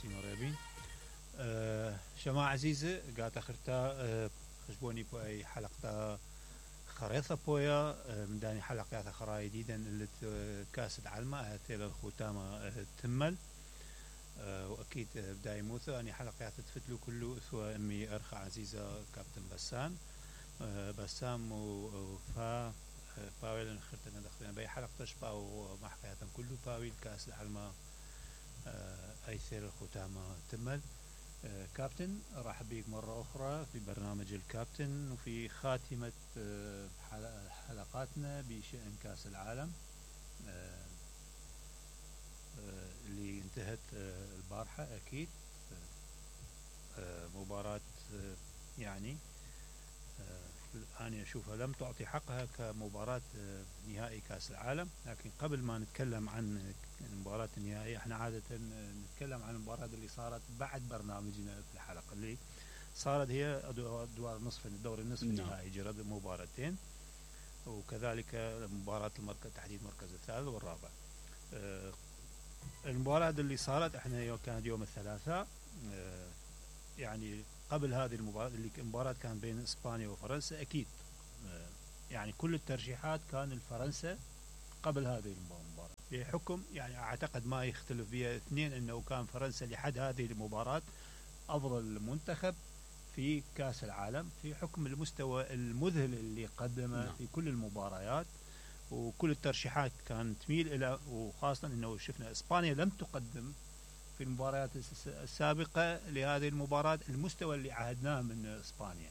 سيما ريبين شما عزيزة قاعد أخرتا خشبوني بأي حلقة خريطة بويا من داني حلقات خراي جديدا اللي كاس العالم هاتيل الختامة تمل وأكيد بداية موثة أني حلقات تفتلو كله ثوى أمي أرخى عزيزة كابتن بسام وفا باويل نخرتنا دخلنا بأي حلقة تشبه ومع حكاياتهم كله باويل كاس العالم أيثير الختامة تمل كابتن رحب بيك مرة أخرى في برنامج الكابتن وفي خاتمة حلقاتنا بشأن كاس العالم اللي انتهت البارحة أكيد مباراة يعني أنا أشوفها لم تعطي حقها كمباراة نهائي كاس العالم. لكن قبل ما نتكلم عن المباراة النهائية احنا عادة نتكلم عن المباراة اللي صارت بعد برنامجنا في الحلقة اللي صارت هي أدوار نصف الدور النصف النهائي جرد مباراتين وكذلك مباراة تحديد المركز الثالث والرابع. المباراة اللي صارت احنا كانت يوم الثلاثاء يعني قبل هذه المباراة اللي المباراة كان بين إسبانيا وفرنسا أكيد يعني كل الترشيحات كان الفرنسا قبل هذه المباراة بحكم يعني أعتقد ما يختلف بها اثنين أنه كان فرنسا لحد هذه المباراة أفضل منتخب في كأس العالم في حكم المستوى المذهل اللي قدمه في كل المباريات وكل الترشيحات كانت تميل إلى وخاصة أنه شفنا إسبانيا لم تقدم في المباريات السابقة لهذه المباراة المستوى اللي عهدناه من إسبانيا.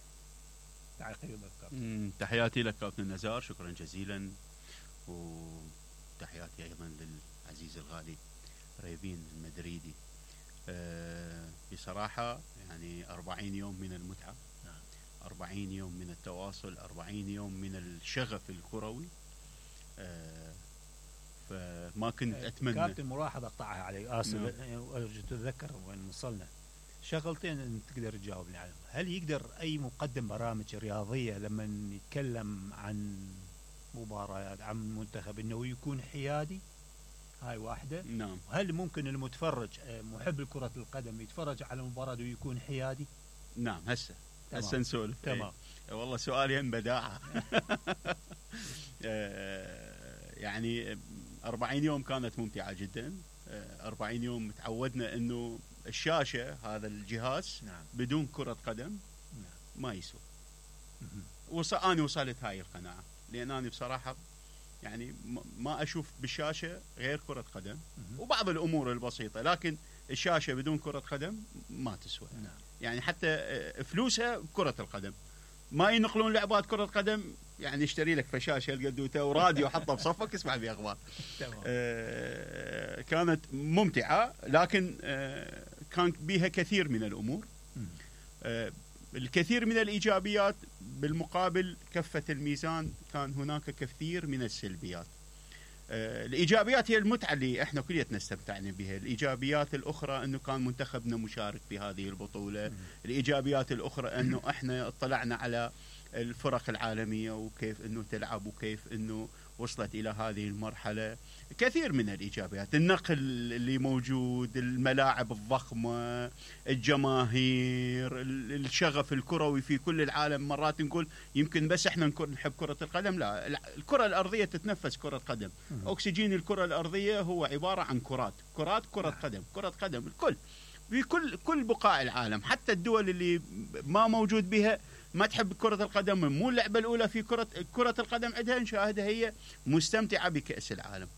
تحياتي لك كابتن نزار شكرا جزيلا وتحياتي أيضا للعزيز الغالي ريبين المدريدي. بصراحة يعني 40 يوم من المتعة 40 يوم من التواصل 40 يوم من الشغف الكروي فما كنت أتمنى. كابتن ملاحظة أقطعها عليك آسف أرجو تتذكر وين وصلنا شغلتين أن تقدر تجاوبني عليهم. هل يقدر أي مقدم برامج رياضية لما يتكلم عن مباريات عن منتخب أنه يكون حيادي؟ هاي واحدة. نعم. هل ممكن المتفرج محب الكرة القدم يتفرج على مباراة ويكون حيادي؟ نعم هسه نسولف. تمام. والله سؤالين بداعة. يعني 40 يوم كانت ممتعة جدا. 40 يوم تعودنا انه الشاشة هذا الجهاز بدون كرة قدم ما يسوى. أنا وصلت هاي القناعة لأن أنا بصراحة يعني ما أشوف بالشاشة غير كرة قدم وبعض الأمور البسيطة لكن الشاشة بدون كرة قدم ما تسوى. يعني حتى فلوسها كرة القدم ما ينقلون لعبات كرة قدم يعني اشتري لك فشاشة القدوتة وراديو حطه بصفك اسمع بيه أخبار. كانت ممتعة لكن كان بيها كثير من الأمور الكثير من الإيجابيات بالمقابل كفة الميزان كان هناك كثير من السلبيات. الإيجابيات هي المتعة اللي احنا كليتنا استمتعنا بها. الإيجابيات الأخرى أنه كان منتخبنا مشارك بهذه البطولة. الإيجابيات الأخرى أنه احنا اطلعنا على الفرق العالمية وكيف أنه تلعب وكيف أنه وصلت إلى هذه المرحلة. كثير من الإيجابيات النقل اللي موجود الملاعب الضخمة الجماهير الشغف الكروي في كل العالم. مرات نقول يمكن بس احنا نحب كرة القدم لا الكرة الأرضية تتنفس كرة قدم. أكسجين الكرة الأرضية هو عبارة عن كرة قدم الكل في كل بقاع العالم حتى الدول اللي ما موجود بها ما تحب كرة القدم مو اللعبة الأولى في كرة القدم عندها نشاهدها هي مستمتعة بكأس العالم.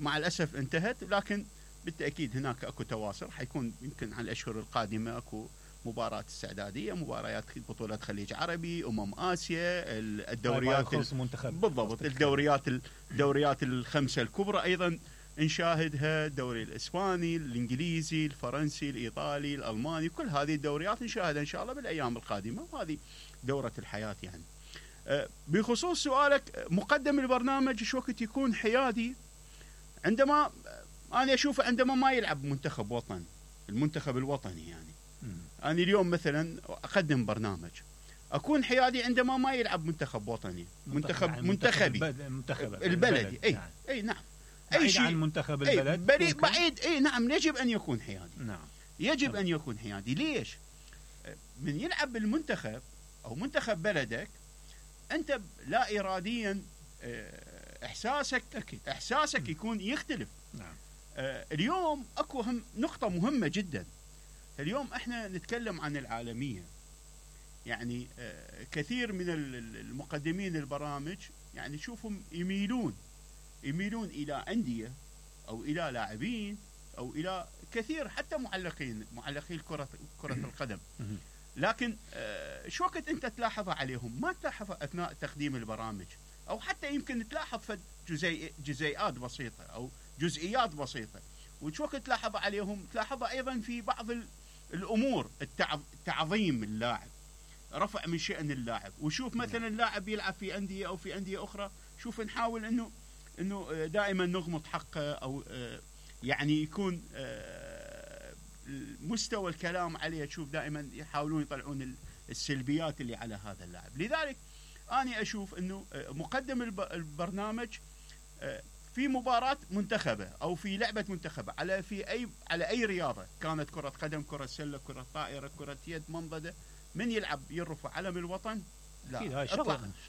مع الأسف انتهت لكن بالتأكيد هناك أكو تواصل حيكون يمكن عن الأشهر القادمة أكو مباراة استعدادية مباريات بطولة خليج عربي آسيا الدوريات بالضبط الدوريات الخمسة الكبرى أيضا نشاهدها الدوري الإسباني الإنجليزي الفرنسي الإيطالي الألماني كل هذه الدوريات نشاهدها إن شاء الله بالأيام القادمة وهذه دورة الحياة يعني. بخصوص سؤالك مقدم البرنامج شو وقت يكون حيادي عندما أنا أشوف عندما ما يلعب منتخب وطن المنتخب الوطني يعني أنا اليوم مثلا أقدم برنامج أكون حيادي عندما ما يلعب منتخب وطني منتخبي البلدي أي نعم اي شيء عن منتخب البلد بعيد نعم يجب ان يكون حيادي. نعم يجب ان يكون حيادي. ليش؟ من يلعب بالمنتخب او منتخب بلدك انت لا اراديا احساسك أكيد. احساسك يكون يختلف. نعم. اليوم اكو نقطة مهمة جدا. اليوم احنا نتكلم عن العالمية، يعني كثير من المقدمين البرامج يعني شوفهم يميلون الى اندية او الى لاعبين او الى كثير حتى معلقين كرة القدم. لكن شو وقت انت تلاحظ عليهم ما تلاحظ اثناء تقديم البرامج، او حتى يمكن تلاحظ في جزيئات بسيطة او جزئيات بسيطة، وشو وقت تلاحظ عليهم تلاحظها ايضا في بعض الامور، تعظيم اللاعب، رفع من شأن اللاعب. وشوف مثلا اللاعب يلعب في اندية او في اندية اخرى، شوف نحاول انه دائما نغمض حقه او يعني يكون مستوى الكلام عليه، تشوف دائما يحاولون يطلعون السلبيات اللي على هذا اللاعب. لذلك أنا أشوف أنه مقدم البرنامج في مباراة منتخبة أو في لعبة منتخبة على أي رياضة كانت، كرة قدم، كرة سلة، كرة طائرة، كرة يد، منضدة، من يلعب يرفع علم الوطن، لا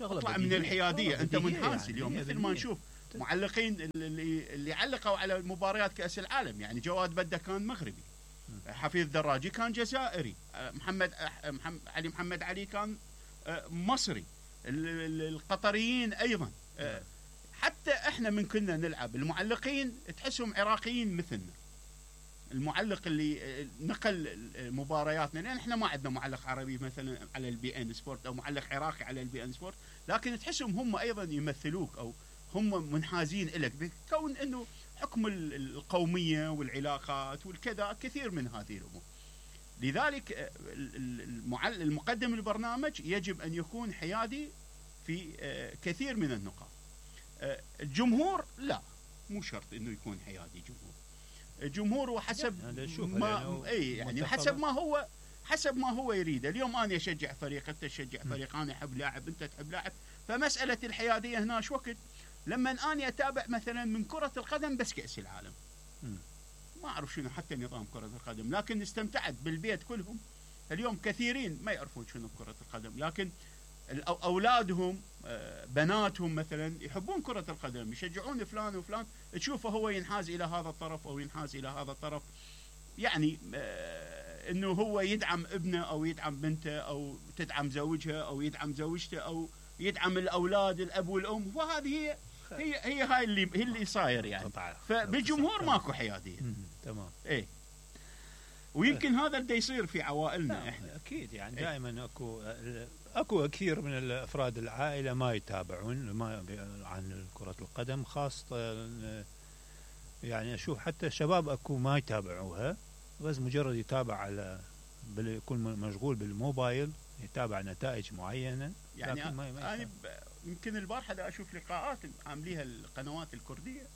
اطلع من الحيادية. أنت منحاز يعني اليوم مثل ما نشوف معلقين اللي علقوا على مباريات كأس العالم، يعني جواد بدة كان مغربي، حفيظ دراجي كان جزائري، علي محمد علي كان مصري، القطريين أيضا. حتى احنا من كنا نلعب المعلقين تحسهم عراقيين مثلنا، المعلق اللي نقل مبارياتنا، لان احنا ما عندنا معلق عربي مثلا على البي ان سبورت او معلق عراقي على البي ان سبورت، لكن تحسهم هم ايضا يمثلوك او هم منحازين لك، بكون انه حكم القوميه والعلاقات والكذا، كثير من هذه الامور. لذلك المقدم البرنامج يجب ان يكون حيادي في كثير من النقاط. الجمهور لا، مو شرط انه يكون حيادي الجمهور وحسب ما يعني حسب ما هو يريد. اليوم انا اشجع فريق، انت تشجع فريق، انا احب لاعب، انت تحب لاعب، فمساله الحياديه هنا شو وقت لما اني اتابع مثلا من كره القدم بس كاس العالم، ما اعرف شنو حتى نظام كره القدم، لكن استمتعت بالبيت كلهم. اليوم كثيرين ما يعرفون شنو كره القدم، لكن اولادهم بناتهم مثلا يحبون كره القدم، يشجعون فلان وفلان، تشوفه هو ينحاز الى هذا الطرف او ينحاز الى هذا الطرف، يعني انه هو يدعم ابنه او يدعم بنته او تدعم زوجها او يدعم زوجته او يدعم الاولاد الاب والام، وهذه هي هاي اللي صاير يعني. فبالجمهور ماكو حياديه. تمام. ويمكن هذا اللي يصير في عوائلنا احنا. اكيد يعني دائما اكو كثير من افراد العائله ما يتابعون عن كره القدم، خاصه يعني اشوف حتى الشباب اكو ما يتابعوها، بس مجرد يتابع على يكون مشغول بالموبايل، يتابع نتائج معينه. يعني انا يمكن البارحه دا اشوف لقاءات عامليها القنوات الكرديه،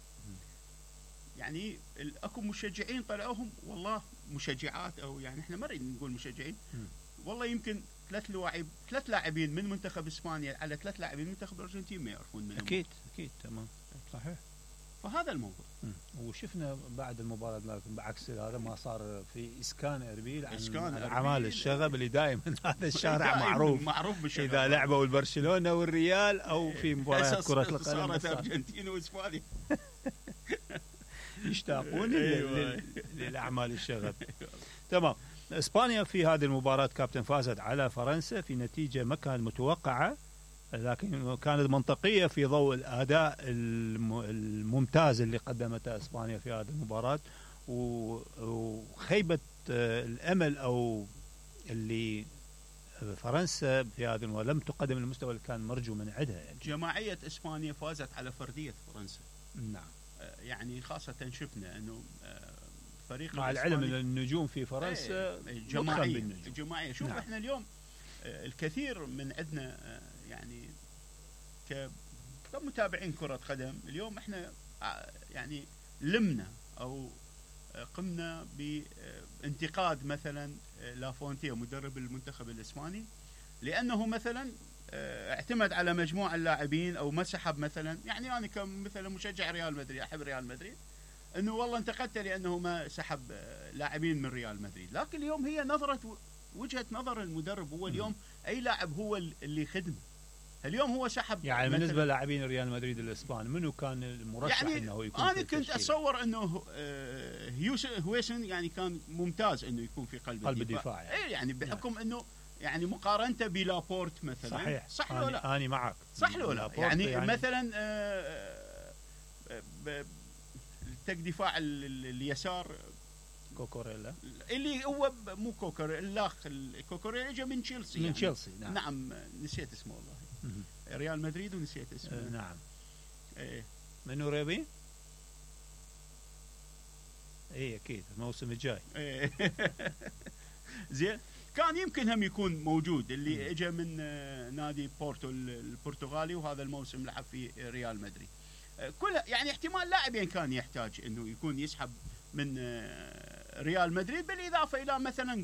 يعني اكو مشجعين طلعوهم، والله مشجعات، او يعني احنا ما نريد نقول مشجعين، والله يمكن ثلاث لاعبين من منتخب اسبانيا على 3 لاعبين من منتخب الارجنتين ما يعرفون منهم. اكيد تمام صحيح. فهذا الموضوع. وشفنا بعد المباراه بعكس هذا ما صار في اسكان اربيل عن اعمال الشغب اللي دائما هذا الشارع معروف بالشغب، اذا لعبوا البرشلونه والريال او في مباريات كره القدم صارت ارجنتين واسبانيا يشتاقون للاعمال الشغب. تمام. اسبانيا في هذه المباراه كابتن فازت على فرنسا في نتيجه ما كانت متوقعه، لكن كانت منطقيه في ضوء الاداء الممتاز اللي قدمته اسبانيا في هذه المباراه، وخيبه الامل او اللي فرنسا في هذه المباراه لم تقدم المستوى اللي كان مرجو من عندها. يعني جماعيه اسبانيا فازت على فرديه فرنسا. نعم. يعني خاصه شفنا انه فريق مع العلم ان النجوم في فرنسا جماعيه. شوف. نعم. احنا اليوم الكثير من عندنا يعني كمتابعين كرة قدم، اليوم احنا يعني لمنا او قمنا بانتقاد مثلا لافونتيه مدرب المنتخب الاسباني، لانه مثلا اعتمد على مجموعة اللاعبين او ما سحب مثلا، يعني انا كمثلا مشجع ريال مدريد احب ريال مدريد، انه والله انتقدت لانه ما سحب لاعبين من ريال مدريد، لكن اليوم هي نظرة وجهة نظر المدرب. هو اليوم اي لاعب هو اللي خدمه. اليوم هو سحب يعني بالنسبه للاعبين ريال مدريد الاسبان منو كان المرشح يعني انه يكون؟ انا كنت اتصور انه هويسن يعني كان ممتاز انه يكون في قلب الدفاع يعني. يعني بحكم انه يعني مقارنته بلابورت مثلا، صح لو لا؟ انا معك، صح لو لا؟ يعني مثلا دفاع اليسار كوكوريلا، اللي هو مو كوكوريلا، الاخ كوكوريلا اجى من تشيلسي، من تشيلسي يعني. نعم نسيت اسمه والله. ريال مدريد ونسيت اسمه. نعم. ايه منو ريبي؟ ايه اكيد الموسم الجاي. زين، كان يمكن هم يكون موجود، اللي اجى من نادي بورتو البرتغالي، وهذا الموسم لعب في ريال مدريد. كلها يعني احتمال لاعبين كان يحتاج انه يكون يسحب من ريال مدريد، بالاضافه الى مثلا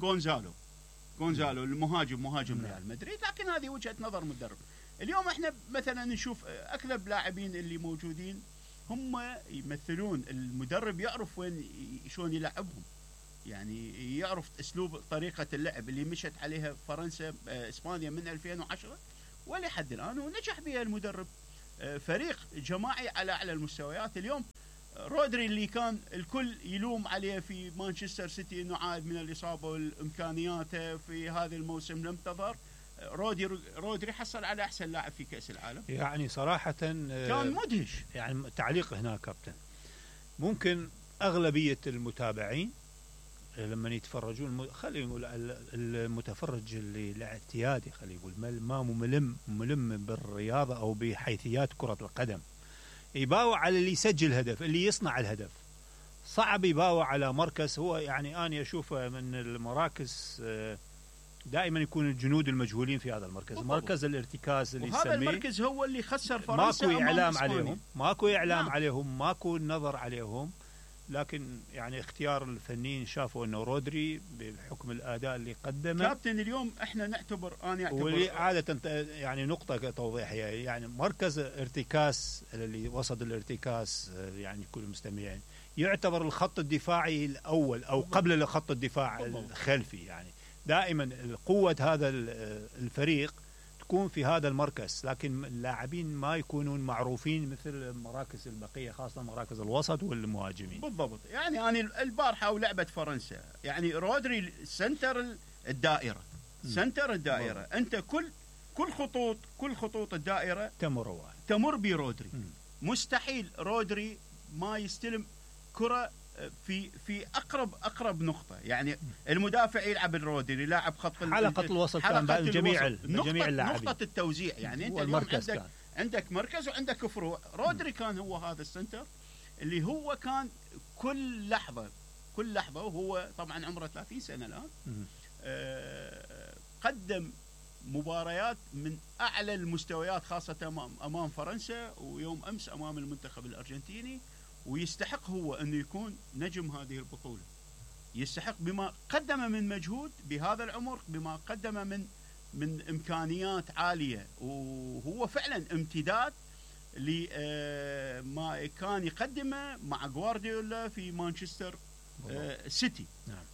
غونزالو مهاجم ريال مدريد، لكن هذه وجهه نظر مدرب. اليوم احنا مثلا نشوف اغلب لاعبين اللي موجودين هم يمثلون المدرب، يعرف وين شلون يلعبهم، يعني يعرف اسلوب طريقه اللعب اللي مشت عليها فرنسا اسبانيا من 2010 ولحد الان، ونجح بها المدرب. فريق جماعي على اعلى المستويات. اليوم رودري اللي كان الكل يلوم عليه في مانشستر سيتي انه عاد من الاصابه والامكانياته في هذا الموسم لم تظهر، رودري حصل على احسن لاعب في كاس العالم. يعني صراحه كان مدهش. يعني تعليق هنا كابتن، ممكن اغلبيه المتابعين لما يتفرجون خلينا نقول المتفرج اللي الاعتيادي خلينا نقول ما ملم بالرياضه او بحيثيات كره القدم، يباوع على اللي يسجل هدف، اللي يصنع الهدف. صعب يباوع على مركز هو يعني أنا أشوفه من المراكز دائما يكون الجنود المجهولين في هذا المركز، مركز الارتكاز اللي يسميه. وهذا المركز هو اللي خسر فرنسا. ماكو إعلام عليهم، ماكو نظر عليهم، لكن يعني اختيار الفنيين شافوا انه رودري بحكم الاداء اللي قدمه. كابتن اليوم احنا نعتبر واللي عاده يعني نقطه توضيحيه، يعني مركز ارتكاز اللي وسط الارتكاز يعني كل المستمعين يعتبر الخط الدفاعي الاول او قبل الخط الدفاع الخلفي، يعني دائما قوه هذا الفريق تكون في هذا المركز، لكن اللاعبين ما يكونون معروفين مثل مراكز البقيه، خاصه مراكز الوسط والمهاجمين. بالضبط. يعني انا البارحه ولعبه فرنسا، يعني رودري سنتر الدائره، انت كل خطوط الدائره تمر برودري. مستحيل رودري ما يستلم كره في اقرب نقطه، يعني المدافع يلعب الرودري، لاعب حلقه الوسط كان بين جميع اللاعبين، نقطه التوزيع. يعني انت اليوم عندك مركز وعندك فروع. رودري كان هو هذا السنتر اللي هو كان كل لحظه وهو طبعا عمره 30 سنه الان، قدم مباريات من اعلى المستويات، خاصه امام فرنسا ويوم امس امام المنتخب الارجنتيني، ويستحق هو انه يكون نجم هذه البطوله. يستحق بما قدم من مجهود بهذا العمر، بما قدم من امكانيات عاليه، وهو فعلا امتداد لما كان يقدمه مع غوارديولا في مانشستر سيتي. نعم.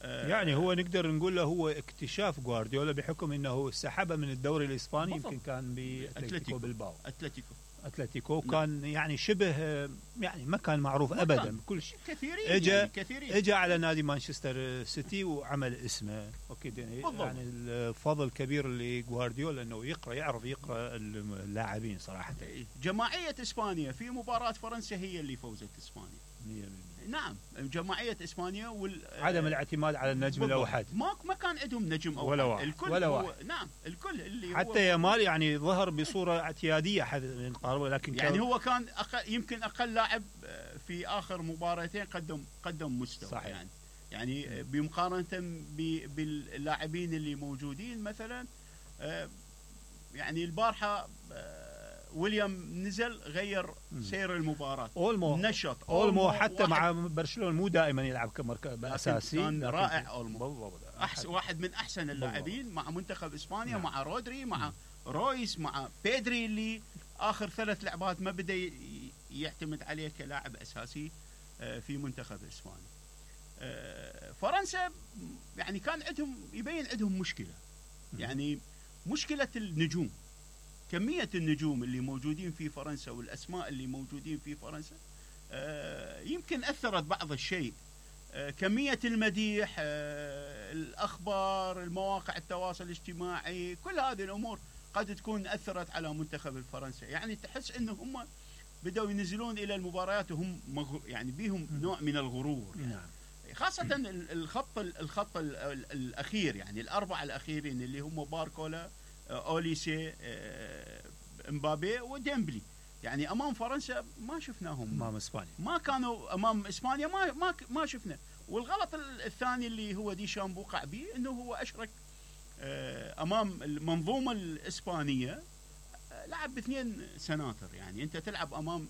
يعني هو نقدر نقول له هو اكتشاف غوارديولا بحكم انه سحبه من الدوري الاسباني، يمكن كان باتلتيكو بالباو. اتلتيكو كان يعني شبه يعني ما كان معروف ابدا بكل شيء. كثيرين اجى على نادي مانشستر سيتي وعمل اسمه. اوكي يعني الفضل كبير لغوارديولا انه يعرف يقرا اللاعبين صراحه. جماعيه اسبانيا في مباراه فرنسا هي اللي فوزت اسبانيا. نعم، جماعيه اسبانيا عدم الاعتماد على النجم الاوحد. ما كان عندهم نجم اوحد ولا واحد. نعم، الكل اللي حتى يامال يعني ظهر بصوره اعتياديه لكن يعني هو كان يمكن اقل لاعب في اخر مباراتين قدم مستوى. صحيح. يعني بمقارنه باللاعبين اللي موجودين مثلا، يعني البارحه ويليام نزل غير سير المباراة، اولمو نشط اولمو حتى مع برشلونة مو دائما يلعب كمركز اساسي، كان رائع اولمو، واحد من احسن اللاعبين مع منتخب اسبانيا. نعم. مع رودري، مع رويس، مع بيدري اللي اخر 3 لعبات ما بدا يعتمد عليه كلاعب اساسي في منتخب اسبانيا. فرنسا يعني كان يبين عندهم مشكلة، يعني مشكلة النجوم، كمية النجوم اللي موجودين في فرنسا والأسماء اللي موجودين في فرنسا يمكن أثرت بعض الشيء. كمية المديح، الأخبار، المواقع التواصل الاجتماعي، كل هذه الأمور قد تكون أثرت على منتخب الفرنسي. يعني تحس إنه هم بدأوا ينزلون إلى المباريات وهم يعني بيهم نوع من الغرور، يعني خاصة الخط الأخير، يعني الأربعة الأخيرين اللي هم باركولا، أوليسي، مبابي وديمبلي. يعني أمام فرنسا ما شفناهم، أمام إسبانيا ما كانوا، أمام إسبانيا ما شفنا. والغلط الثاني اللي هو ديشامب وقع به إنه هو أشرك أمام المنظومة الإسبانية، لعب ب2 سناتر. يعني أنت تلعب أمام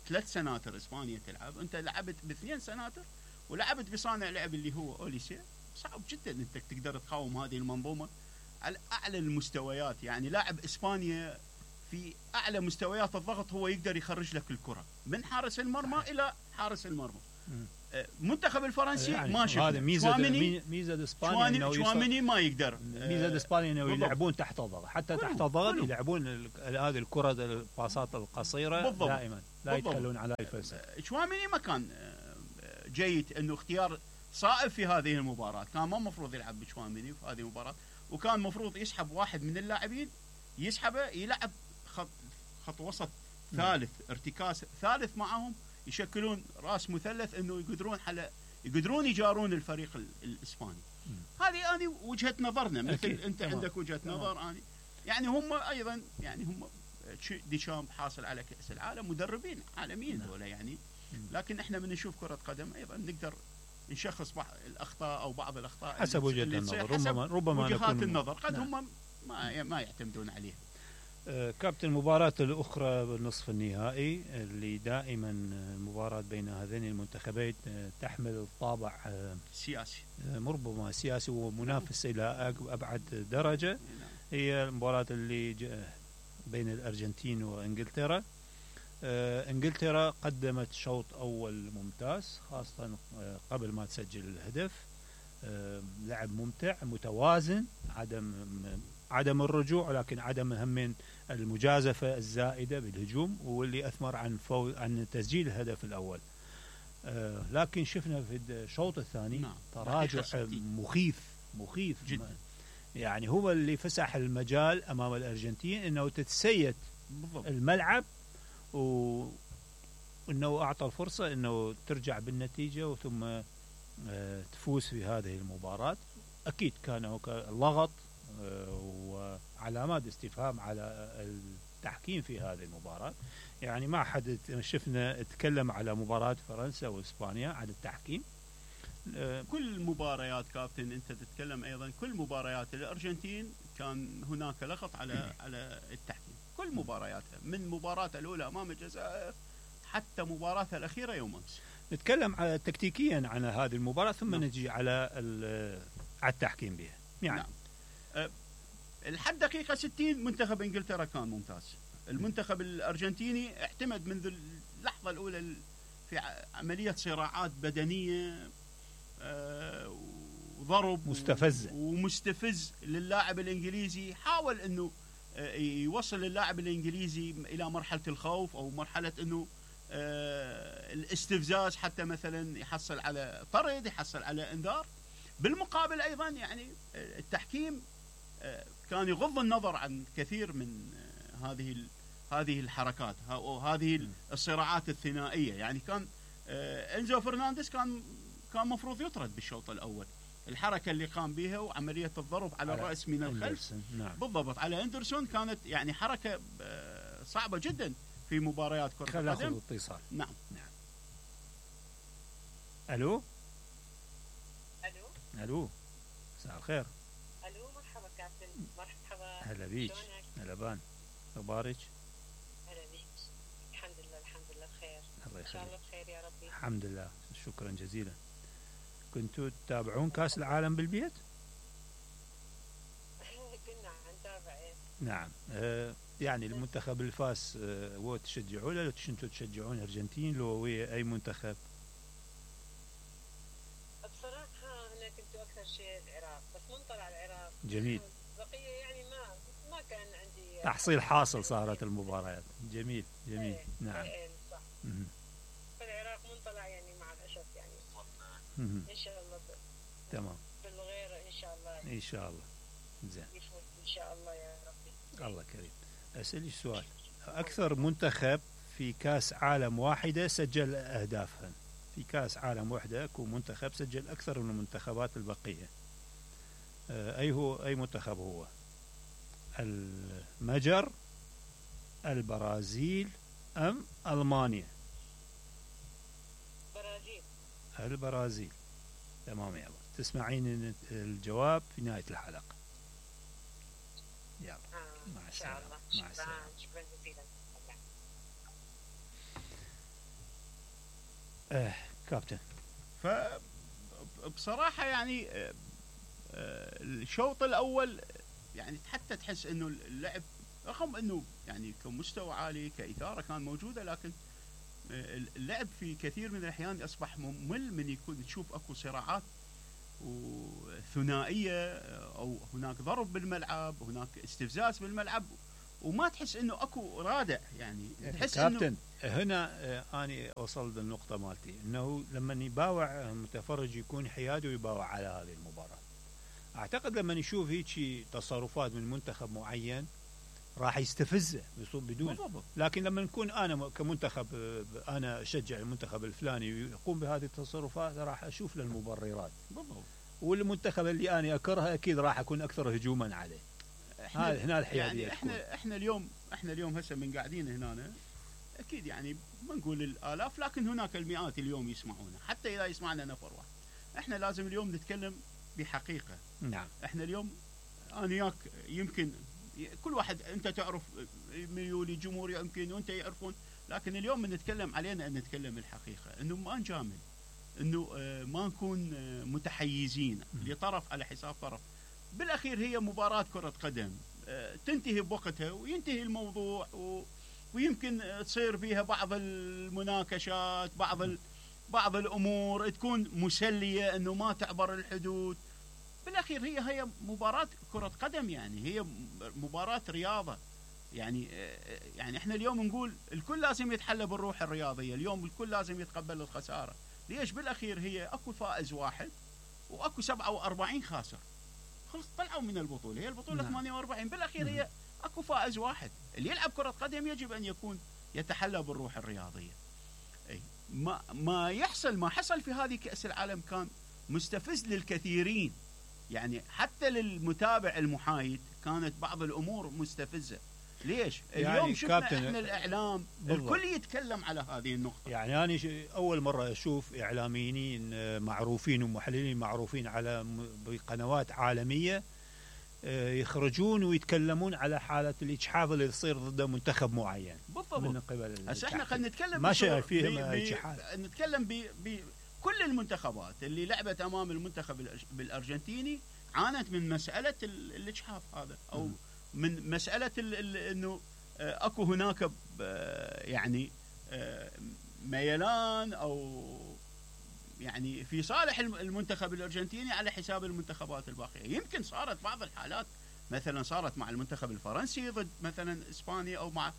3 سناتر إسبانيا تلعب، أنت لعبت ب2 سناتر ولعبت بصانع لعب اللي هو أوليسي. صعب جدا أنت تقدر تقاوم هذه المنظومة على أعلى المستويات. يعني لاعب إسبانيا في أعلى مستويات الضغط هو يقدر يخرج لك الكرة من حارس المرمى إلى حارس المرمى. منتخب الفرنسي يعني ما شفنا. هذا ميزة إسبانيا، شواميني ما يقدر. ميزة إسبانيا إنه يلعبون تحت الضغط، حتى تحت الضغط يلعبون هذه الكرة الباصات القصيرة بالضبط. دائما لا يتخلون على الفلسفة. شواميني ما كان جيد، إنه اختيار صائب في هذه المباراة. كان ما مفروض يلعب بشواميني في هذه المباراة، وكان مفروض يسحب واحد من اللاعبين، يسحبه يلعب خط وسط ثالث، ارتكاز ثالث معهم، يشكلون راس مثلث انه يقدرون يجارون الفريق الاسباني. هذه انا وجهة نظرنا، مثل انت عندك وجهة نظر. انا يعني هم ايضا، يعني هم ديشامب حاصل على كأس العالم، مدربين عالميين دولة يعني. لكن احنا من نشوف كرة قدم ايضا نقدر نشخص بعض الاخطاء او بعض الاخطاء حسب وجهة النظر، ربما وجهات النظر قد هم ما يعتمدون عليها. كابتن، المباراة الأخرى بالنصف النهائي اللي دائما المباراة بين هذين المنتخبين تحمل الطابع سياسي، ربما سياسي ومنافس إلى أبعد درجة، هي المباراة اللي بين الأرجنتين وإنجلترا. إنجلترا قدمت شوط أول ممتاز، خاصة قبل ما تسجل الهدف. لعب ممتع متوازن، عدم الرجوع، لكن عدم همين المجازفة الزائدة بالهجوم، واللي أثمر عن تسجيل الهدف الأول. لكن شفنا في الشوط الثاني تراجع مخيف جدا. يعني هو اللي فسح المجال أمام الأرجنتين أنه تتسيد الملعب، وأنه أعطى الفرصة أنه ترجع بالنتيجة ثم تفوز في هذه المباراة. أكيد كان لغط وعلامات استفهام على التحكيم في هذه المباراة. يعني ما حد شفنا اتكلم على مباراة فرنسا وإسبانيا على التحكيم. كل مباريات كابتن انت تتكلم ايضا، كل مباريات الارجنتين كان هناك لغط على التحكيم، كل مبارياتها، من مباراتها الاولى امام الجزائر حتى مباراتها الاخيره يوم امس. نتكلم على تكتيكيا عن هذه المباراة ثم نجي على التحكيم بها. يعني الحد دقيقة 60 منتخب انجلترا كان ممتاز. المنتخب الارجنتيني اعتمد منذ اللحظة الاولى في عملية صراعات بدنية وضرب مستفزة ومستفز للاعب الانجليزي. حاول انه يوصل اللاعب الانجليزي الى مرحلة الخوف او مرحلة انه الاستفزاز، حتى مثلا يحصل على طرد، يحصل على انذار. بالمقابل ايضا يعني التحكيم كان يغض النظر عن كثير من هذه الحركات او هذه الصراعات الثنائيه. يعني كان انزو فرنانديز كان مفروض يطرد بالشوط الاول. الحركه اللي قام بها وعمليه الضرب على الراس من الخلف، نعم. بالضبط على اندرسون، كانت يعني حركه صعبه جدا في مباريات كره القدم. خلينا اتصال. نعم. الو. الو مساء الخير. الو، مرحبا كابتن. مرحبا، هلا بيك. هلا بان، اخبارك؟ بخير. الله ان شاء يخليك. الله بخير يا ربي. الحمد لله، شكرا جزيلا. كنتوا تتابعون كاس العالم بالبيت؟ كنا عم نتابع. ايه نعم. يعني المنتخب اللي فاز هو تشجعوه لو كنتوا تشجعون الارجنتين لو ويا اي منتخب؟ بصراحه انا كنت اكثر شيء العراق، بس منطلع العراق. جميل. بقيه يعني ما كان عندي تحصيل حاصل صارت المباريات. جميل جميل. ايه نعم. ايه صح. مهم. فالعراق منطلع يعني مع الاسف يعني. مهم. ان شاء الله تمام بالغير ان شاء الله ان شاء الله. زين. يفوز ان شاء الله يا ربي. الله كريم. اسالك سؤال، اكثر منتخب في كاس عالم واحده سجل اهدافها، في كاس عالم واحده اكو منتخب سجل اكثر من المنتخبات البقيه، اي منتخب هو؟ المجر، البرازيل، ام المانيا؟ برازيل. البرازيل. تمام يلا، تسمعين الجواب في نهايه الحلقه. يلا مع ان شاء السلامه. الله. مع السلامه. شكرا جزيلا. كابتن. فبصراحه يعني الشوط الاول يعني حتى تحس انه اللعب رغم انه يعني كمستوى عالي كاثاره كان موجوده، لكن اللعب في كثير من الاحيان اصبح ممل من يكون تشوف اكو صراعات وثنائيه او هناك ضرب بالملعب، هناك استفزاز بالملعب، وما تحس انه اكو رادع يعني تحس كابتن هنا اني وصلت للنقطه مالتي انه لما يباوع المتفرج يكون حيادي ويباوع على هذه المباراه. اعتقد لما يشوف هيك تصرفات من منتخب معين راح يستفزه بدون بالضبط. لكن لما نكون انا كمنتخب انا اشجع المنتخب الفلاني ويقوم بهذه التصرفات راح اشوف له المبررات. بالضبط. والمنتخب اللي انا اكرهه اكيد راح اكون اكثر هجوما عليه. هنا الحياديه يعني احنا اليوم هسه من قاعدين هنا اكيد يعني ما نقول الالاف، لكن هناك المئات اليوم يسمعونا، حتى اذا يسمعنا نفر واحد. احنا لازم اليوم نتكلم بحقيقه. نعم. احنا اليوم انا وياك يمكن كل واحد انت تعرف ميولي جمهوري يمكن وانت يعرفون، لكن اليوم من نتكلم علينا ان نتكلم الحقيقه، انه ما نجامل، انه ما نكون متحيزين لطرف على حساب طرف. بالاخير هي مباراه كره قدم تنتهي بوقتها وينتهي الموضوع ويمكن تصير فيها بعض المناقشات، بعض الامور تكون مسليه انه ما تعبر الحدود. بالاخير هي مباراه كره قدم، يعني هي مباراه رياضه. يعني احنا اليوم نقول الكل لازم يتحلى بالروح الرياضيه، اليوم الكل لازم يتقبل الخساره. ليش؟ بالاخير هي اكو فائز واحد واكو 47 خاسر. خلص طلعوا من البطوله، هي البطوله نعم. 48. بالاخير هي اكو فائز واحد. اللي يلعب كره قدم يجب ان يكون يتحلى بالروح الرياضيه. اي ما حصل في هذه كأس العالم كان مستفز للكثيرين، يعني حتى للمتابع المحايد كانت بعض الامور مستفزه. ليش؟ يعني اليوم شفنا كابتن احنا الاعلام بالضبط. الكل يتكلم على هذه النقطه. يعني انا اول مره اشوف اعلاميين معروفين ومحللين معروفين على بقنوات عالميه يخرجون ويتكلمون على حاله الاجحاف اللي تصير ضد منتخب معين. بالضبط. من قبل هسه احنا خلينا نتكلم ما شيء فيه اجحاف. نتكلم بكل المنتخبات اللي لعبت امام المنتخب بالارجنتيني عانت من مساله الاجحاف هذا، او من مساله انه اكو هناك يعني ميلان او يعني في صالح المنتخب الارجنتيني على حساب المنتخبات الباقيه. يمكن صارت بعض الحالات مثلا صارت مع المنتخب الفرنسي ضد مثلا اسبانيا، او مع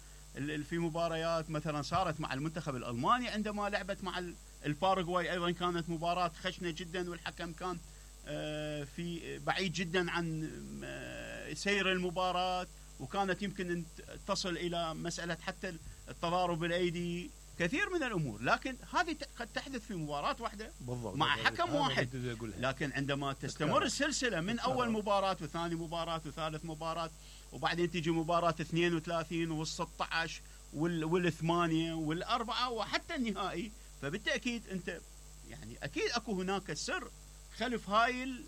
في مباريات مثلا صارت مع المنتخب الالماني عندما لعبت مع الباراغواي، ايضا كانت مباراه خشنه جدا والحكم كان في بعيد جدا عن سير المباراه، وكانت يمكن ان تصل الى مساله حتى التضارب الايدي، كثير من الامور. لكن هذه قد تحدث في مباراه واحده بالضبط مع حكم واحد. لكن عندما تستمر السلسله من اول مباراه وثاني مباراه وثالث مباراه، وبعدين تيجي مباراه 32 وال16 وال8 والاربعه وحتى النهائي، فبالتاكيد انت يعني اكيد اكو هناك سر خلف هاي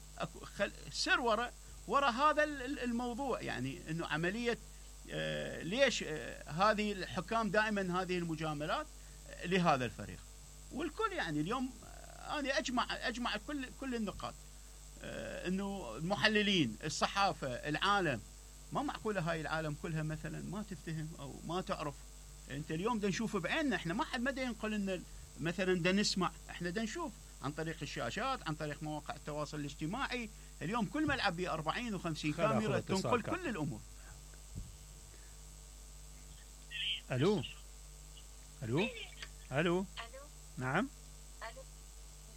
سر وراء هذا الموضوع. يعني انه عمليه ليش هذه الحكام دائما هذه المجاملات لهذا الفريق. والكل يعني اليوم انا اجمع كل النقاط، انه المحللين، الصحافه، العالم، ما معقوله هاي العالم كلها مثلا ما تفتهم او ما تعرف. انت اليوم دا نشوف بعيننا، احنا ما حد مدى ينقل لنا مثلا، دا نسمع، احنا دا نشوف عن طريق الشاشات، عن طريق مواقع التواصل الاجتماعي. اليوم كل ملعب ب 40 و50 كاميرا تنقل كل الامور. الو الو الو نعم. الو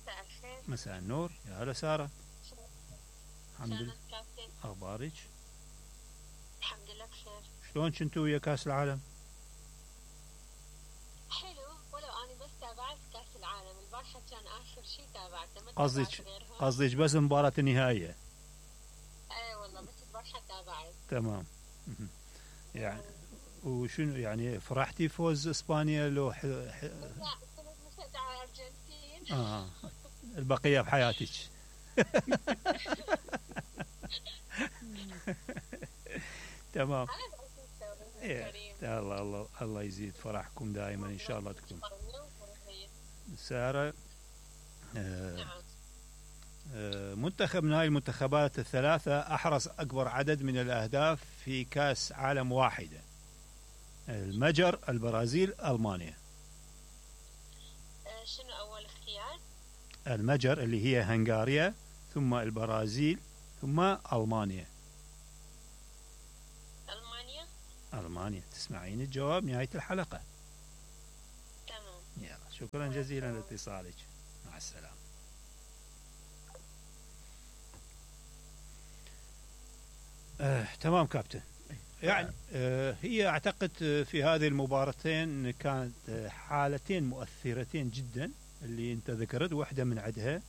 مساء الخير. مساء النور، يا هلا ساره. الحمد لله. كابتن؟ اخبارك؟ الحمد لله بخير. شلون كنتوا ويا كاس العالم؟ حلو، ولو انا بس تابعت كاس العالم البارحه، كان اخر شيء تابعته، ما قصدك تابعت غيرهم. قصدك بس مباراة النهائية؟ اي والله بس البارحه تابعت. تمام. يعني وشنو يعني فرحتي فوز اسبانيا لو لا كنت مشجعه على الارجنتين. البقية بحياتك. تمام. الله يزيد فرحكم دائما ان شاء الله. تكون سارة، منتخب من هاي المنتخبات الثلاثة أحرز أكبر عدد من الأهداف في كأس عالم واحدة: المجر، البرازيل، ألمانيا. شنو أول اختيار؟ المجر اللي هي هنغاريا، ثم البرازيل، ثم ألمانيا. ألمانيا. تسمعين الجواب نهاية الحلقة. تمام. يلا شكرا جزيلا لاتصالك، مع السلامة. تمام كابتن. يعني هي أعتقد في هذه المباراتين كانت حالتين مؤثرتين جدا اللي أنت ذكرت. واحدة من عدها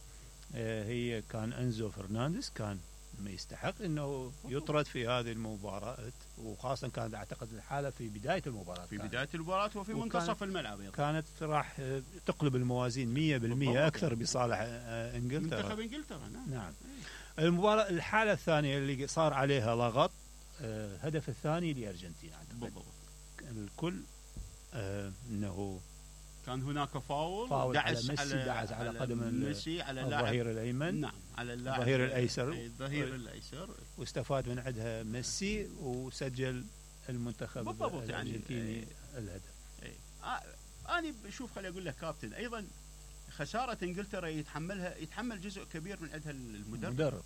هي كان أنزو فرنانديز، كان ما يستحق انه يطرد في هذه المباراة، وخاصة كانت اعتقد الحالة في بداية المباراة، في بداية المباراة وفي منتصف الملعب كانت راح تقلب الموازين 100% اكثر بصالح انجلترا، منتخب انجلترا. نعم. المباراة الحالة الثانية اللي صار عليها لغط، هدف الثاني لأرجنتين اعتقد الكل انه كان هناك فاول دعس على قدم ميسي، على الظهير الايمن، نعم، على اللاعب الظهير الايسر، واستفاد من عندها ميسي وسجل المنتخب الارجنتيني يعني الهدف. انا بشوف، خلي اقول لك كابتن، ايضا خساره انجلترا يتحمل جزء كبير من عندها المدرب.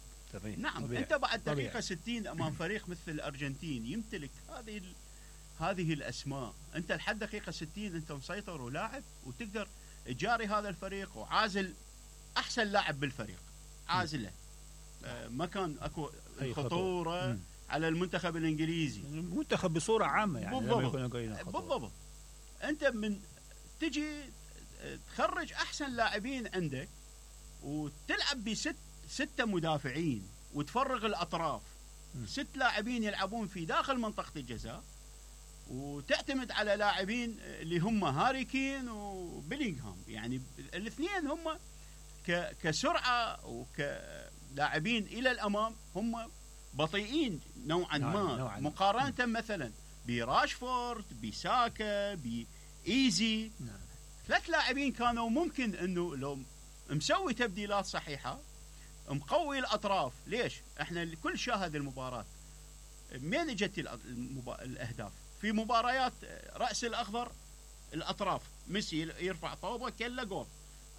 نعم طبيعي. انت بعد دقيقه 60 امام فريق مثل الارجنتين يمتلك هذه الاسماء، انت لحد دقيقه 60 انت مسيطر ولاعب، وتقدر تجاري هذا الفريق، وعازل احسن لاعب بالفريق، عازله. ما كان اكو خطوره على المنتخب الانجليزي، المنتخب بصوره عامه يعني. بالضبط. انت من تجي تخرج احسن لاعبين عندك وتلعب بستة مدافعين وتفرغ الاطراف، 6 لاعبين يلعبون في داخل منطقه الجزاء، وتعتمد على لاعبين اللي هم هاري كين وبيلينغهام، يعني الاثنين هم كسرعه وكلاعبين الى الامام هم بطيئين نوعا ما مقارنه مثلا براشفورد، بساكا، بايزي. 3 لاعبين كانوا ممكن انه لو مسوي تبديلات صحيحه، مقوي الاطراف. ليش؟ احنا الكل شاهد المباراه، من اجت الاهداف في مباريات رأس الأخضر، الأطراف ميسي يرفع طوبة كلا جول.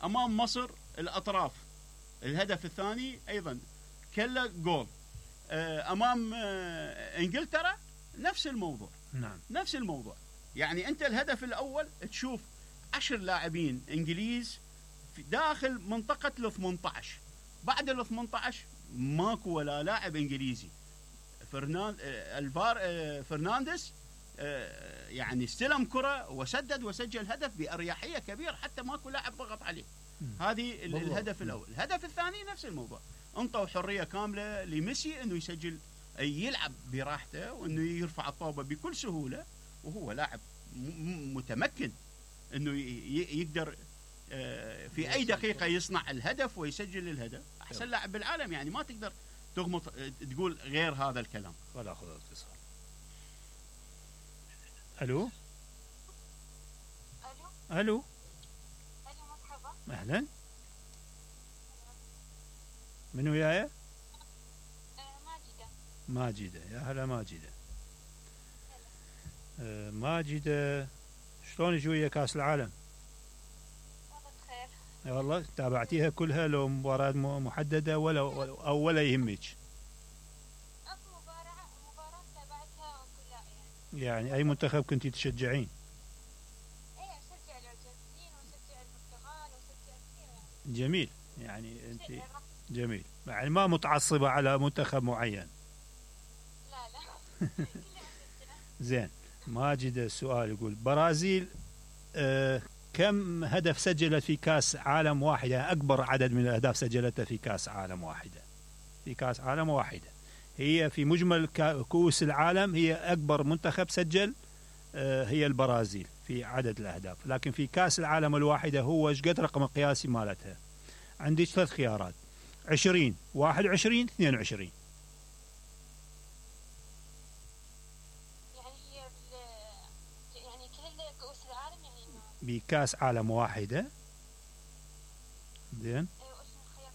أمام مصر الأطراف الهدف الثاني أيضا كلا جول. أمام إنجلترا نفس الموضوع. نعم. نفس الموضوع. يعني أنت الهدف الأول تشوف 10 لاعبين إنجليز في داخل منطقة ال 18، بعد ال 18 ماكو ولا لاعب إنجليزي. فرنانديز يعني استلم كرة وسدد وسجل هدف بأريحية كبيرة، حتى ماكو لاعب ضغط عليه. هذه الهدف الأول. الهدف الثاني نفس الموضوع، انطوا حرية كاملة لميسي انه يسجل، يلعب براحته، وانه يرفع الطوبة بكل سهولة، وهو لاعب متمكن انه يقدر في اي دقيقة يصنع الهدف ويسجل الهدف. احسن لاعب بالعالم، يعني ما تقدر تغمض تقول غير هذا الكلام. ولا اخذ اتصال. الو. اهلا. من وياي؟ ماجدة. ماجدة، يا هلا ماجدة. ماجدة، شلونك ويا كاس العالم؟ والله بخير. والله تابعتيها كلها لو مباراة محددة ولا يهمك؟ اكو مباراة تابعتها كلها يعني. يعني أي منتخب كنتي تشجعين؟ ايه اشجع الارجنتين واشجع البرتغال واشجع كثير يعني. جميل، يعني أنت شجع. جميل، يعني ما متعصبة على منتخب معين. لا لا. كلها اشجع. زين. ماجد السؤال يقول برازيل كم هدف سجلت في كاس عالم واحدة؟ أكبر عدد من الأهداف سجلتها في كاس عالم واحدة. في كاس عالم واحدة، هي في مجمل كؤوس العالم هي أكبر منتخب سجل، هي البرازيل في عدد الأهداف، لكن في كاس العالم الواحدة هو ايش قد رقم القياسي مالتها؟ عندك ثلاث خيارات: 20 21 22. يعني هي يعني كل كؤوس العالم يعني انه. بكاس عالم واحدة. زين. اسم الخيار.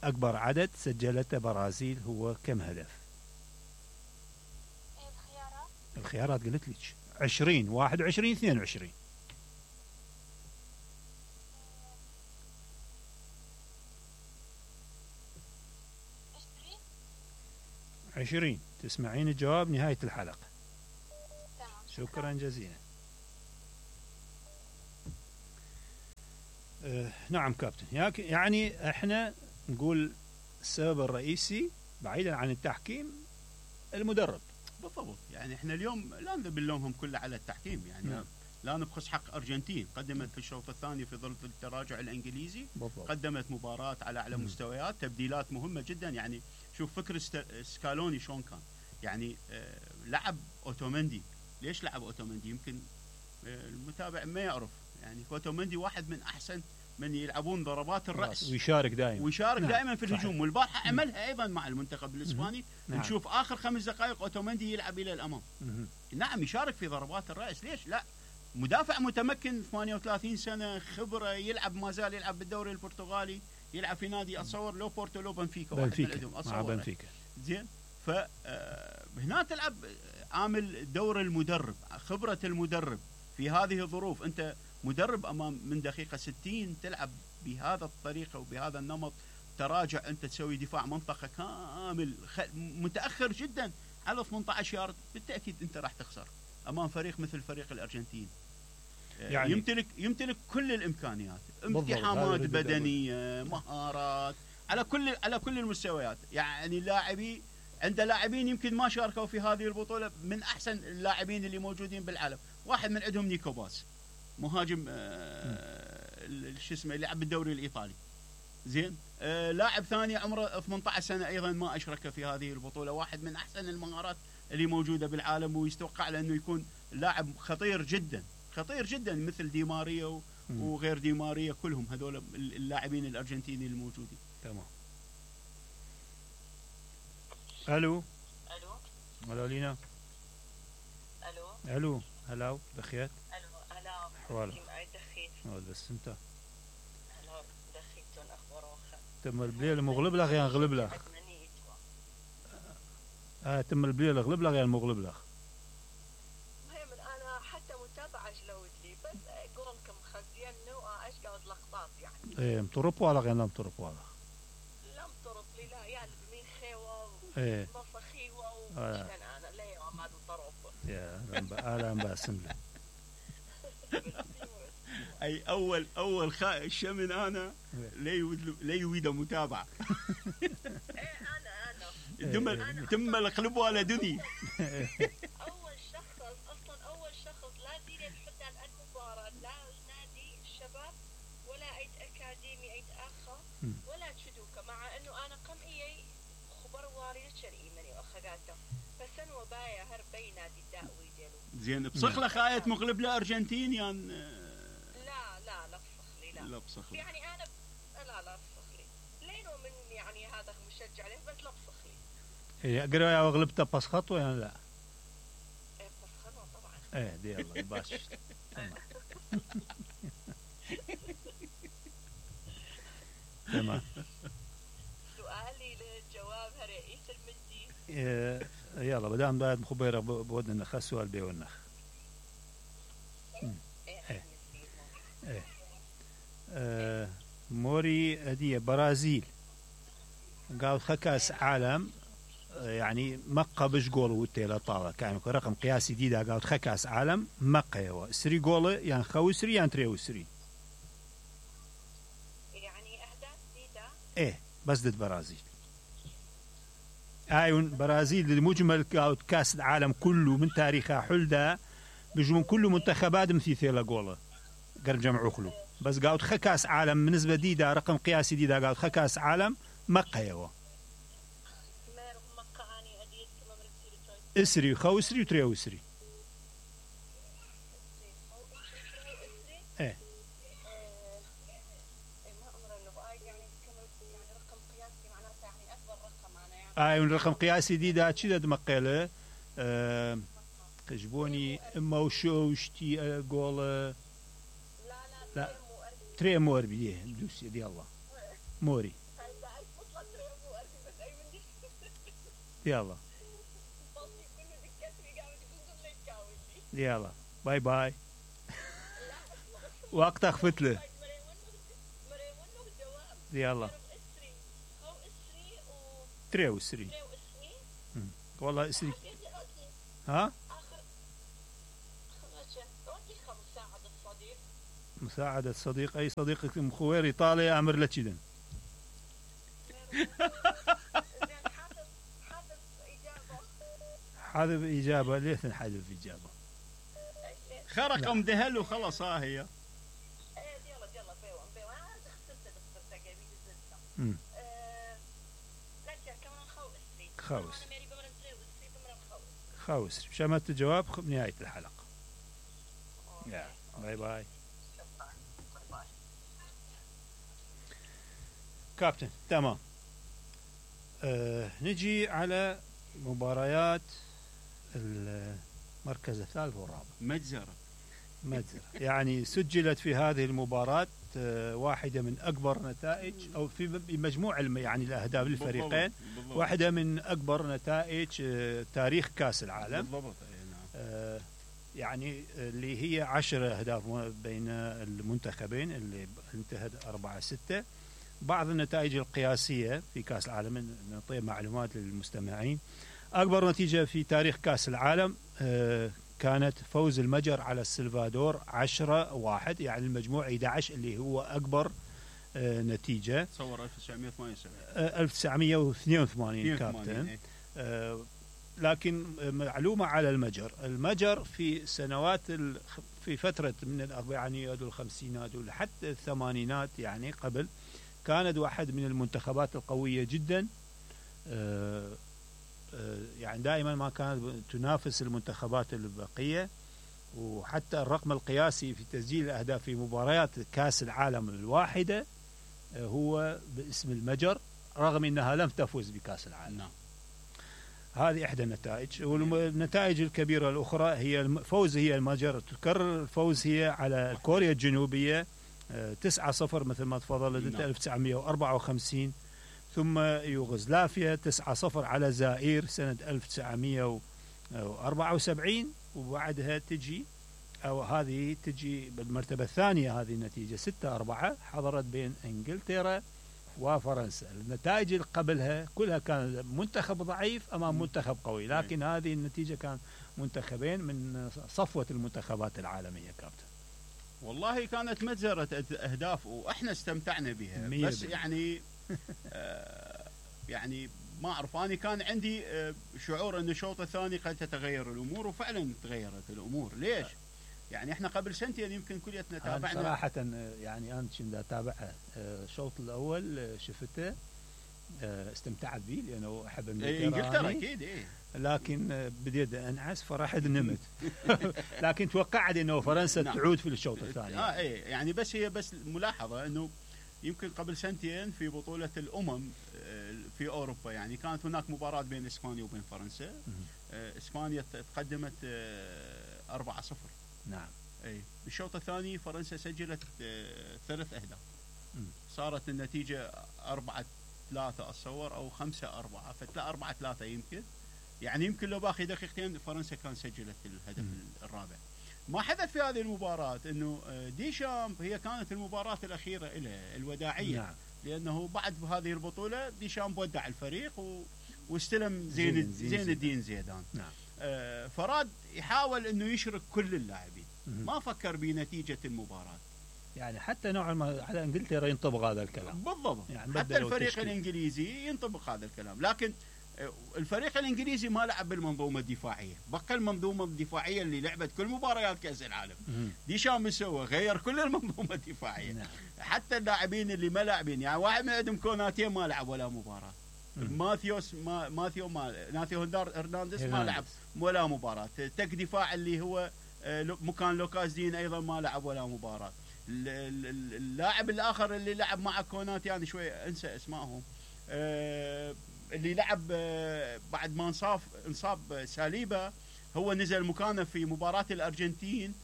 أكبر عدد سجلته برازيل هو كم هدف؟ الخيارات. الخيارات قلت لك: 20 21 22. 20. تسمعين الجواب نهاية الحلقة. تمام. شكرا جزيلا. نعم كابتن، يعني احنا نقول السبب الرئيسي بعيدا عن التحكيم المدرب. بالضبط، يعني احنا اليوم لا نلومهم كله على التحكيم، يعني نعم. لا نبخس حق ارجنتين، قدمت في الشوط الثاني في ظل التراجع الانجليزي بالضبط. قدمت مباراة على اعلى مستويات، تبديلات مهمة جدا. يعني شوف فكر سكالوني شلون كان، يعني لعب اوتومندي. ليش لعب اوتومندي؟ يمكن المتابع ما يعرف، يعني اوتومندي واحد من احسن من يلعبون ضربات الراس، ويشارك دائما. نعم. دائما في الهجوم، صحيح. والبارحه عملها ايضا مع المنتخب الاسباني. نعم. نشوف اخر 5 دقائق اوتومندي يلعب الى الامام. نعم، يشارك في ضربات الراس. ليش لا؟ مدافع متمكن، 38 سنه خبره، يلعب ما زال يلعب بالدوري البرتغالي، يلعب في نادي اتصور لو بورتو لو بنفيكا، واحد من عندهم مع بنفيكا. زين. فهنا تلعب عامل دور المدرب، خبره المدرب في هذه الظروف. انت مدرب امام من دقيقه 60 تلعب بهذا الطريقه وبهذا النمط، تراجع، انت تسوي دفاع منطقه كامل متاخر جدا على 18 يارد، بالتاكيد انت راح تخسر امام فريق مثل فريق الارجنتين. يعني يمتلك كل الامكانيات، امتحامات بدنيه، مهارات على كل المستويات. يعني عنده لاعبين يمكن ما شاركوا في هذه البطوله من احسن اللاعبين اللي موجودين بالعالم. واحد من عندهم نيكو باس، مهاجم شو اسمه اللي يلعب بالدوري الايطالي. زين. لاعب ثاني عمره 18 سنه ايضا ما اشرك في هذه البطوله، واحد من احسن المهارات اللي موجوده بالعالم، ويتوقع له انه يكون لاعب خطير جدا خطير جدا، مثل دي ماريا وغير دي ماريا، كلهم هذول اللاعبين الارجنتيني الموجودين. تمام. الو الو لينا. الو هلا دخيت. الو هلا حوالك دخيت بس انت هلا دخيتون اخبار تم البليل مغلب لك يا غلب لك. تم البليل غلب لك يا المغلب لك. المهم انا حتى متابعه جلودلي، بس قولكم خزينه واشقد لقطات يعني. ايه مطرب ولا غير مطرب ولا؟ لا مطرب لي لا، يعني بمين خيوه ومصخيوه وشن انا لا يا ما طرب. يا اهلا باسم لك. اي اول الشمن انا لا يريد متابعه. انا تم القلب ولا دني. اول شخص لا دين يحط عن المباراه، لا نادي الشباب ولا اي اكاديمي اي اخا ولا تشدوكا، مع انه انا قمئي خبر واري شرعي واخذاته، بس انا وبايا هربي نادي الداوي ديالو. زين بصخ لك خاية مغلب لارجنتين يعني. لا بصخلي لا بصخلي يعني انا لا بصخلي لينو من يعني هذا مشجع له، بس لا بصخلي. هي اقرا يا غلبته بس خطوه يعني لا. بس خطوه طبعا. دي يلا باش. تمام. سؤالي للجواب رئيس المندي. يلا بدام بعد مخبرة بودنا نخ سؤال بيونخ. موري هدية برازيل قال كاس عالم يعني مقا بش جول وتيلا طاوة كان رقم قياسي ديدا قال كاس عالم مقا هو سري جول يعني خوسري يعني تريوسري يعني أهداف جديدة. ايه بس ضد برازيل. ايون برازيل المجمل كاس العالم كله من تاريخها حلدا بيجون كله منتخبات مثيثيلا جوله قرب جمعوا خلو بس قاعد كاس عالم بالنسبه ديدا رقم قياسي ديدا قاعد كاس عالم مقيوا اسري خوسري وتريوسري ايه ايون رقم قياسي ديدا تشدد مقيله خجبوني اما وشوشتي قول لا تري مور بيه دوسي دي الله موري يلا يلا باي باي وقت فتله يلا تريو سري والله اسري ها مساعدة صديق أي صديقك مخوير إيطاليا أمر لك إذن حذف إجابة ليش نحذف إجابة خرق دهل وخلص هي خوس شمت الجواب بنهاية الحلقة. باي باي كابتن. تمام. نجي على مباريات المركز الثالث والرابع. مجزرة يعني سجلت في هذه المباراة واحدة من أكبر نتائج أو في مجموع يعني الأهداف للفريقين واحدة من أكبر نتائج تاريخ كأس العالم بالضبط. يعني اللي هي 10 أهداف بين المنتخبين اللي انتهت 4-6. بعض النتائج القياسية في كأس العالم نعطي معلومات للمستمعين. أكبر نتيجة في تاريخ كأس العالم كانت فوز المجر على السلفادور 10-1 يعني المجموع 11 اللي هو أكبر نتيجة. تصور 1982 1982 كابتن. لكن معلومة على المجر في سنوات في فترة من الأربعينيات والخمسينات ولحتى الثمانينات يعني قبل كانت واحد من المنتخبات القوية جدا. يعني دائما ما كانت تنافس المنتخبات البقية وحتى الرقم القياسي في تسجيل الأهداف في مباريات كأس العالم الواحدة هو باسم المجر رغم أنها لم تفوز بكأس العالم. نعم. هذه إحدى النتائج. والنتائج الكبيرة الأخرى هي الفوز هي المجر تكرر الفوز هي على كوريا الجنوبية 9-0 مثل ما تفضلت انت 1954. ثم يوغوسلافيا 9-0 على زائر سنة 1974. وبعدها تجي أو هذه تجي بالمرتبة الثانية هذه النتيجة 6-4 حضرت بين إنجلترا وفرنسا. النتائج اللي قبلها كلها كان منتخب ضعيف أمام منتخب قوي لكن هذه النتيجة كان منتخبين من صفوة المنتخبات العالمية كابتن. والله كانت مجزرة أهداف وإحنا استمتعنا بها بس يعني يعني ما أعرف أنا كان عندي شعور أن الشوط الثاني قد تتغير الأمور وفعلا تغيرت الأمور. ليش؟ يعني إحنا قبل سنتين يمكن كليتنا تابعنا صراحة يعني أنا كنت أتابعها الشوط الأول شفته استمتعت به لأنه أحب إنجلترا أكيد لكن بديت أنعس فرحت نمت لكن توقعت أنه فرنسا تعود في الشوط الثاني. يعني بس هي بس ملاحظة أنه يمكن قبل سنتين في بطولة الأمم في أوروبا يعني كانت هناك مباراة بين إسبانيا وبين فرنسا. إسبانيا تقدمت 4-0. نعم. بالشوط الثاني فرنسا سجلت 3 أهداف. صارت النتيجه 4-3 اتصور او 5-4 فتلا 4-3 يمكن. يعني يمكن لو باقي دقيقتين فرنسا كان سجلت الهدف الرابع. ما حدث في هذه المباراة انه ديشامب هي كانت المباراة الاخيرة له الوداعية. نعم. لانه بعد هذه البطولة ديشامب ودع الفريق واستلم زين الدين زيدان. نعم. فراد يحاول انه يشرك كل اللاعبين، ما فكر بنتيجة المباراة. يعني حتى نوعا ما على انجلترا ينطبق هذا الكلام بالضبط. يعني حتى الفريق الانجليزي ينطبق هذا الكلام، لكن الفريق الانجليزي ما لعب بالمنظومه الدفاعيه، بقى المنظومه الدفاعيه اللي لعبت كل مباريات كاس العالم. ديشام سوى غير كل المنظومه الدفاعيه. نعم. حتى اللاعبين اللي ما لاعبين، يعني واحد من عندهم كوناتي ما لعب ولا مباراه. ناثيو هرنانديز ما لعب ولا مباراه. تك دفاع اللي هو مكان لوكاس دين ايضا ما لعب ولا مباراه. اللاعب الاخر اللي لعب مع كوناتي يعني شوي انسى اسمائهم، اللي لعب بعد ما انصاب ساليبا، هو نزل مكانه في مباراة الأرجنتين،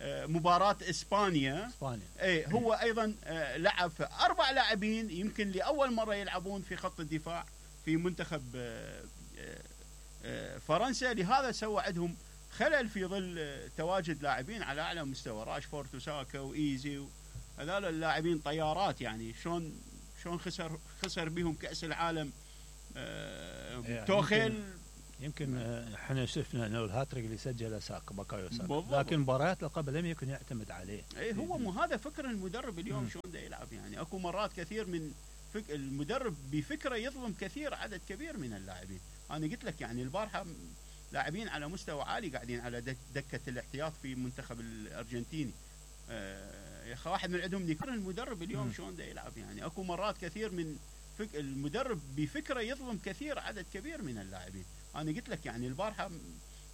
مباراة إسبانيا. اي هو أيضا لعب. 4 لاعبين يمكن لأول مرة يلعبون في خط الدفاع في منتخب فرنسا، لهذا سوى عندهم خلل في ظل تواجد لاعبين على أعلى مستوى، راشفورد وساكا وإيزي هذول اللاعبين طيارات. يعني شلون خسر بهم كأس العالم توخيل. يمكن احنا شفنا انه الهاتريك اللي سجله بكايو ساكا، لكن مباريات قبل لم يكن يعتمد عليه. اي هو مو هذا فكر المدرب اليوم شلون دا يلعب. يعني اكو مرات كثير من المدرب بفكره يظلم عدد كبير من اللاعبين. انا قلت لك يعني البارحه لاعبين على مستوى عالي قاعدين على دكه الاحتياط في المنتخب الارجنتيني. يا اخي واحد من عندهم فكر المدرب اليوم شلون دا يلعب. يعني اكو مرات كثير من المدرب بفكره يظلم عدد كبير من اللاعبين. انا قلت لك يعني البارحه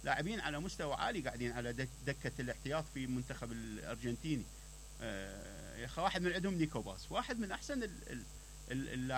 لاعبين على مستوى عالي قاعدين على دكه الاحتياط في المنتخب الارجنتيني. يا اخي واحد من عندهم نيكوباس، واحد من احسن اللاعبين